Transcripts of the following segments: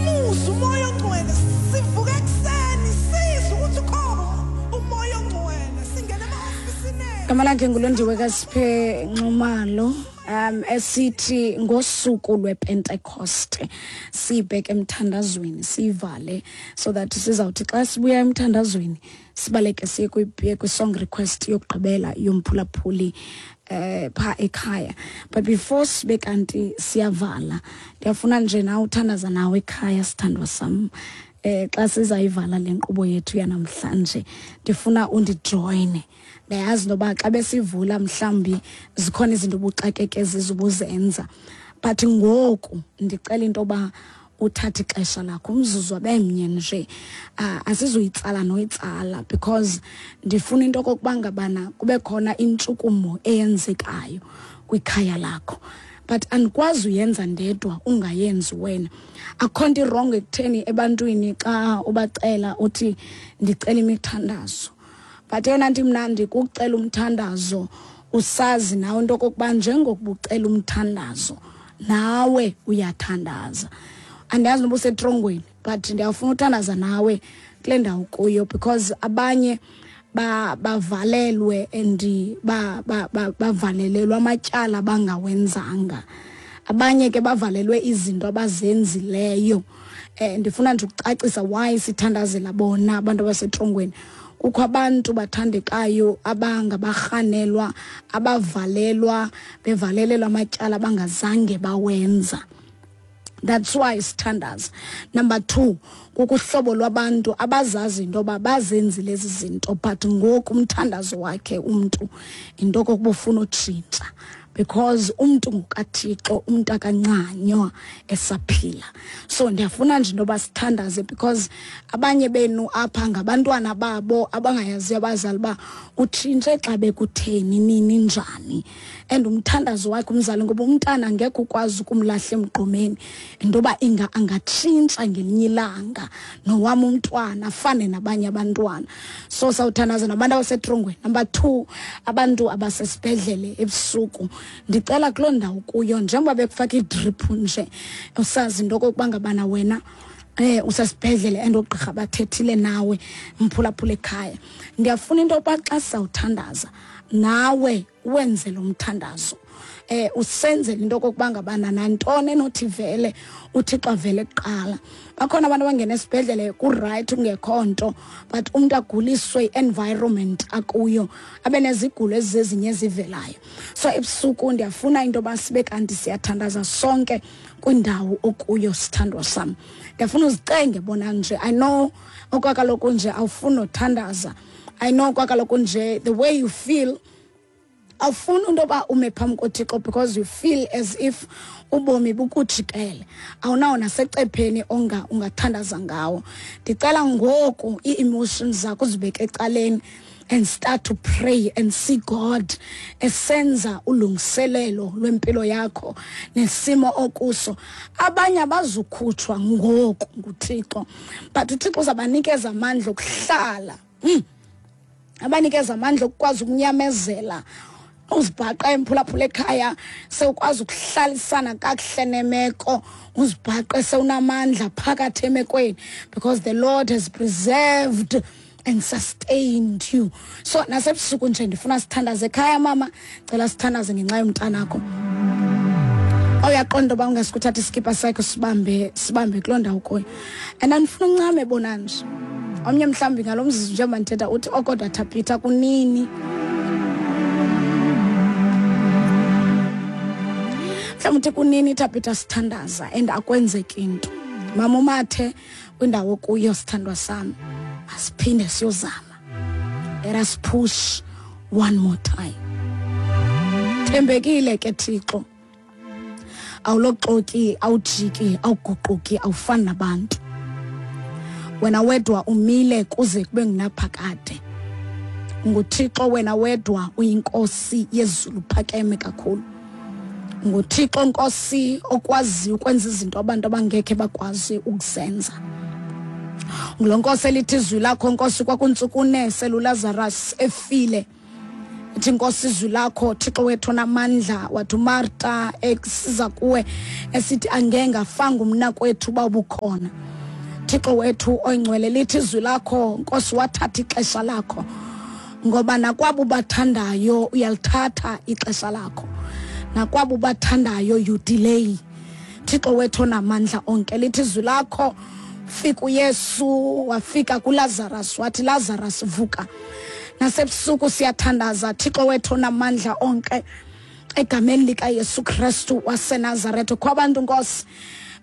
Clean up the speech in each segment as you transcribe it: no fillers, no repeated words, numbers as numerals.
Simuzwe umoya ongcwele, sivuke ekuseni sizwe ukuthi ukhona umoya ongcwele, singene ema-ofisini ethu. Gama lakhe nguLondiwe kaSiphe Nxumalo, esithi ngosuku lwePentecost sibheke emthandazweni, sivale so that sizawuthi xa sibuya emthandazweni sibaleke siye kwi-song request yokugqibela yomphulaphuli pha ekhaya. But before sibe kanti siyavala, ndiyafuna nje nawe uthandaza nawe ekhaya, sithandwa sam. Xa sizayivala le nkqubo yethu yanamhlanje, ndifuna undijoyine. Ndiyayazi noba xa besivula mhlawumbi zikhona izinto obuxakeke zizo ubuzenza, but ngoku ndicela into yoba uthathe ixesha lakho, umzuzu abemnye nje. Asizuyitsala noyitsala because ndifuna into okokuba ngabana kube khona intshukumo eyenzekayo kwikhaya lakho, but andikwazi uyenza ndedwa ungayenzi wena. Akukho nto irongo ekutheni ebantwini xa ubacela uthi ndicela imithandazo, but eyona nto imnandi kukucela umthandazo usazi nawe into okokuba njengokuba ucela umthandazo nawe uyathandaza. Andiyazi noba usetrongweni, but ndiyafuna uthandaza nawe kule ndawo kuyo, because abanye bavalelwe and bavalelelwe amatyala abangawenzanga, abanye ke bavalelwe izinto abazenzileyo. Ndifuna nje ukucacisa why sithandazela bona abantu abasetrongweni. Kukho abantu bathandekayo abangabarhanelwa, abavalelwa, bevalelelwa amatyala abangazange bawenza. That's why sithandaza. Number 2, kukuhlobo lwabantu abazazi into yoba bazenzile ezi zinto, but ngoku umthandazo wakhe umntu into okokuba ufuna utshintsha, because umntu ngukaThixo, umntu akancanywa esaphila. So ndiyafuna nje into yoba sithandaze, because abanye benu apha ngabantwana babo abangayaziyo abazali uba utshintshe xa bekutheni, nini, njani. And umthandazo wakhe umzali, ngoba umntana angekhe ukwazi ukumlahla emgqomeni, into yoba inga angatshintsha ngelinye ilanga nowam umntwana afane nabanye abantwana. So sawuthandaza nabantu abasetrongweni. Number 2, abantu abasesibhedlele ebusuku. Ndicela kuloo ndawo kuyo, njengoba bekufaka idrip nje, usazi into okokuba ngabana wena usesibhedlele and oogqirha bathethile nawe, mphulaphula ekhaya. Ndiyafuna into yokuba xa sizawuthandaza nawe wenze lo mthandazo, usenzele into okokuba ngabana nantoni enothi vele uThixo avele kuqala. Bakhona abantu abangena esibhedlele ku-right kungekho nto, but umntu aguliswe i-environment akuyo, abe nezigulo ezizezinye ezivelayo. So ebusuku ndiyafuna into yoba sibe kanti siyathandaza sonke kwindawo okuyo, sithandwa sam. Ndiyafuna uzicenge bona nje. I know okwakaloku nje awufuni nothandaza. I know okwakaloku nje the way you feel, awufuni into yoba ume phambi koThixo because you feel as if ubomi bukujikele, awunawo nasecepheni ungathandaza ngawo. Ndicela ngoku ii-emotions zakho uzibeke ecaleni and start to pray and see God esenza ulungiselelo lwempilo yakho nesimo okuso. Abanye abazukhutshwa ngoku nguThixo, but uThixo uzabanikeza amandla okuhlala. Abanikeza amandla okukwazi ukunyamezela, uzibhaqa emphulaphula ekhaya, sewukwazi ukuhlalisana kakuhle nemeko, uzibhaqe sewunamandla phakathi emekweni, because the Lord has preserved and sustained you. So nasebusuku nje ndifuna sithandaze ekhaya. Mama, cela sithandaze ngenxa yomntanakho. Awuyaqonda uba ungasikuthatha iskipa sakho sibambe kuloo ndawo kuyo. And andifuna uncame bona nje. Omnye mhlawumbi ngalo mzuzu njengoba ndithetha uthi, oh, kodwa Thabitha kunini? Mhlawumbi uthi kunini Thabitha sithandaza and akwenzeki into. Mama uMathe kwindawo kuyo, sithandwa sam, masiphinde siyozama. Let us push one more time. Thembekile ke Thixo, awuloxoki, awujiki, awuguquki, awufani nabantu. Wena wedwa umile kuze kube ngunaphakade. NguThixo wena wedwa, uyinkosi yezulu, phakeme kakhulu. NguThixo Nkosi okwaziyo ukwenza izinto abantu abangekhe bakwazi ukuzenza. Ngulo Nkosi elithi izwi lakho Nkosi kwakuntsukune seluLazarus efile. Ithi Nkosi izwi lakho, Thixo wethu onamandla, wathi uMarta esiza kuwe esithi angengafanga umnakwethu uba ubukhona. Thixo wethu oyingcwele, lithi izwi lakho Nkosi, wathatha ixesha lakho, ngoba nakwabo bathandayo uyalithatha ixesha lakho, nakwabo bathandayo you delay. Thixo wethu onamandla onke, lithi izwi lakho, fika uYesu wafika kuLazarus wathi Lazarus vuka. Nasebusuku siyathandaza, Thixo wethu onamandla onke, egameni likaYesu Kristu waseNazaretha. Kho abantu Nkosi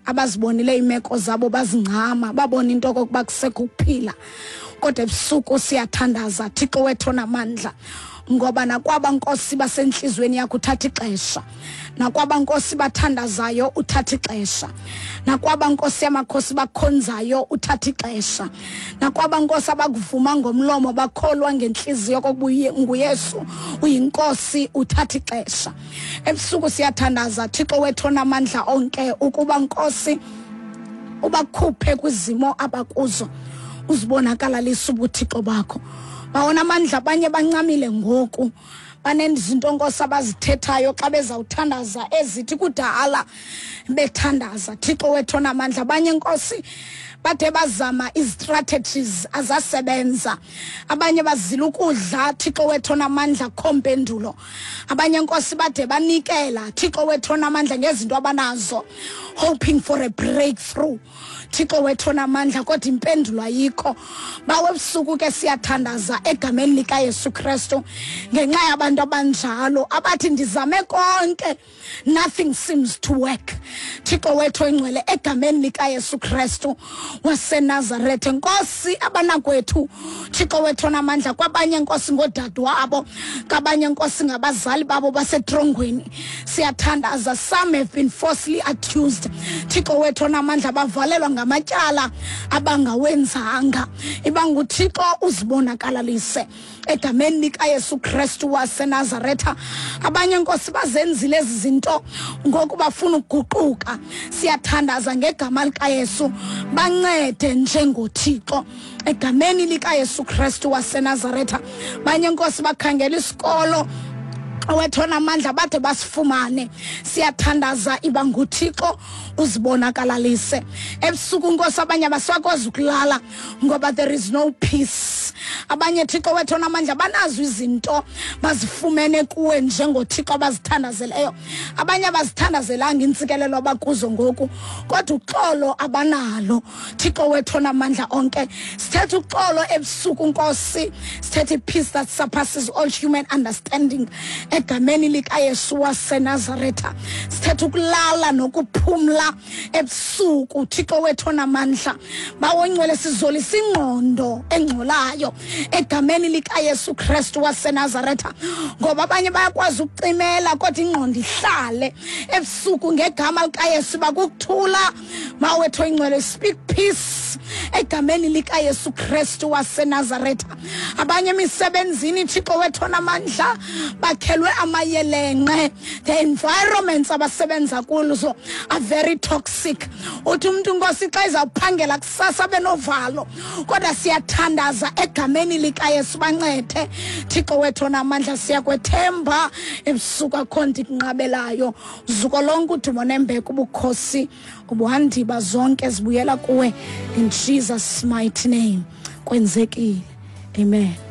abazibonile iimeko zabo bazincama, babona into okokuba kusekho ukuphila, kodwa ebusuku siyathandaza, Thixo wethu onamandla, ngoba nakwaba Nkosi basentliziyweni yakho uthatha ixesha, nakwaba Nkosi bathandazayo uthatha ixesha, nakwaba Nkosi yamakhosi bakhonzayo uthatha ixesha, nakwaba Nkosi abakuvuma ngomlomo bakholwa ngentliziyo kokuba nguYesu uyinkosi uthatha ixesha. Ebusuku siyathandaza, Thixo wethu onamandla onke, ukuba Nkosi ubakhuphe kwizimo abakuzo, uzibonakalalisa ubuthixo bakho. Bawona amandla, abanye bancamile ngoku, banezinto Nkosi abazithethayo xa bezawuthandaza ezithi kudala bethandaza. Thixo wethu onamandla, abanye Nkosi bade bazama izistrategies azasebenza, abanye bazila ukudla, Thixo wethu onamandla, kho mpendulo. Abanye Nkosi bade banikela, Thixo wethu onamandla, ngezinto abanazo, hoping for a breakthrough, Thixo wethu onamandla, kodwa impendulo ayikho. Bawe ebusuku ke siyathandaza egameni likaYesu Kristu ngenxa yabantu abanjalo abathi ndizame konke, nothing seems to work. Thixo wethu oyingcwele, egameni likaYesu Kristu waseNazarethe, Nkosi, abanakwethu, Thixo wethu onamandla, kwabanye Nkosi ngoodadewabo, kwabanye Nkosi ngabazali babo basetrongweni. Siyathandaza, some have been falsely accused, Thixo wethu onamandla, bavalelwa ngamatyala abangawenzanga. Iba nguThixo uzibonakalalise egameni likaYesu Kristu waseNazaretha. Abanye Nkosi bazenzile ezi zinto ngoku bafuna ukuguquka. Siyathandaza ngegama likaYesu, bancede njengoThixo egameni likaYesu Kristu waseNazaretha. Banye Nkosi bakhangela isikolo owethona amandla bade basifumane. Siyathandaza, iba nguThixo uzibonakalalise. Ebusuku Nkosi abanye abasakwazi ukulala ngoba there is no peace. Abanye, Thixo wethu onamandla, banazo izinto bazifumene kuwe njengoThixo abazithandazeleyo, abanye abazithandazelanga intsikelelo abakuzo ngoku, kodwa uxolo abanalo. Thixo wethu onamandla onke, sithetha uxolo ebusuku Nkosi, sithetha i-peace that surpasses all human understanding egameni likaYesu waseNazaretha. Sithetha ukulala nokuphumla ebusuku, Thixo wethu onamandla. Bawongcwele, sizolisa ingqondo engcolayo egameni likaYesu Kristu waseNazaretha, ngoba abanye bayakwazi ukucimela kodwa ingqondo ihlale. Ebusuku ngegama likaYesu bakukuthula. Mawethu oyingcwele, speak peace egameni likaYesu Kristu waseNazaretha. Abanye emisebenzini, Thixo wethu onamandla, bakhelwe amayelenqe. The environments abasebenza kuzo are very toxic. Uthi umuntu Nkosi xa izawuphangela kusasa benovalo, kodwa siyathandaza egameni likaYesu, bancede, Thixo wethu onamandla. Siyakwethemba ebusuku, akho nto ikunqabelayo. Zuko lonke, udumo nembeko, ubukhosi, ubuhandiba, zonke zibuyela kuwe in Jesus mighty name. Kwenzekile, amen.